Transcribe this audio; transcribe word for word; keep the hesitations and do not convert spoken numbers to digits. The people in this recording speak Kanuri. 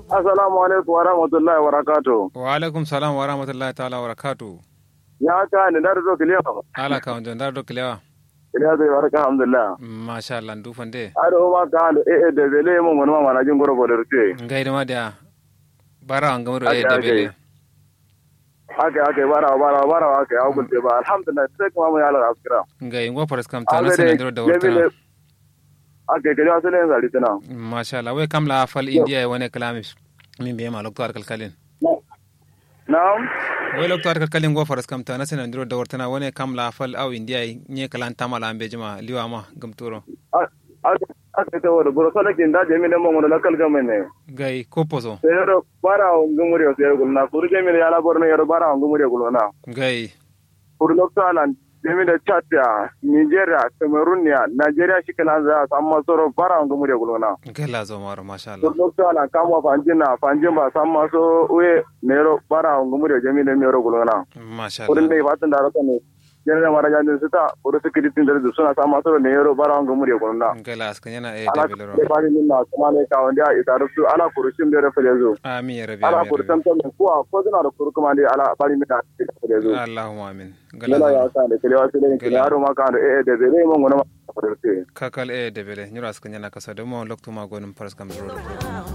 Assalamu alaikum wa rahmatullahi wa barakatuh. Wa alaikum salam wa rahmatullahi ta'ala wa barakatuh. Ya ka ne ndar do kiliya? Ala ka wando ndar do kiliya? Kiliya zai barka alhamdulillah. Masha Allah ndu fande. Ado ma ka ando eh eh da bele mo ngono ma mana jin goro bodor te. Ngai da ma da. Bara an gamro eh da bele. Haka haka bara bara bara haka ya gulte ba alhamdulillah sai kuma mun ya Allah askira. Ngai ngo faras kam ta na sanan diro da warta. Ake kedi asali yen sari tǝna. Masha Allah wai kam la fal indiya ye wane kǝla min be ma loktu har kalkalin. Na'am. Wai loktu har kalkalin ngo faras kam ta na sǝna ndiro dawar tǝna wane kam la fal au indiya ye nye kǝlan tama la mbeji ma liwa ma gǝmturo. Ake ta wado buro sala kinda jami da mangono la kalga mai ne. Gai kopo so. Sai yaro bara wa ngumuri yo sai gulna kuru jami da yala borno yaro bara wa ngumuri yo gulna. Gai. Kuru loktu alan jami da chad ya nigeria cameroon ya nigeria shi kǝlan za samma soro bara wa ngumuri yo gulna. Gala zo maro masha Allah. Kuru loktu alan kamwa fanjin na fanjin ba samma so uye nero bara wa ngumuri yo jami da mero gulna. Masha Allah. Kuru dai fatin da rasa ne. Jere da mara jandin sita kuru sikiri tin da suna samma soro nero bara wa ngumuri yo gulna. Gala askan yana eh da belero. Bari min na kuma ne ka wanda ya isa rufu ala kuru shim da rafa da zo. Amin ya rabbi. Ala kuru tantan kuwa ko suna da kuru kuma ne ala bari min na. Allahumma amin. Gala ya sa da kalewa su da kalewa ma ka da eh da bele mun gona ma. Kakal eh da bele nyura suka nyana kasa da mu loktu ma gonin faras kam duro.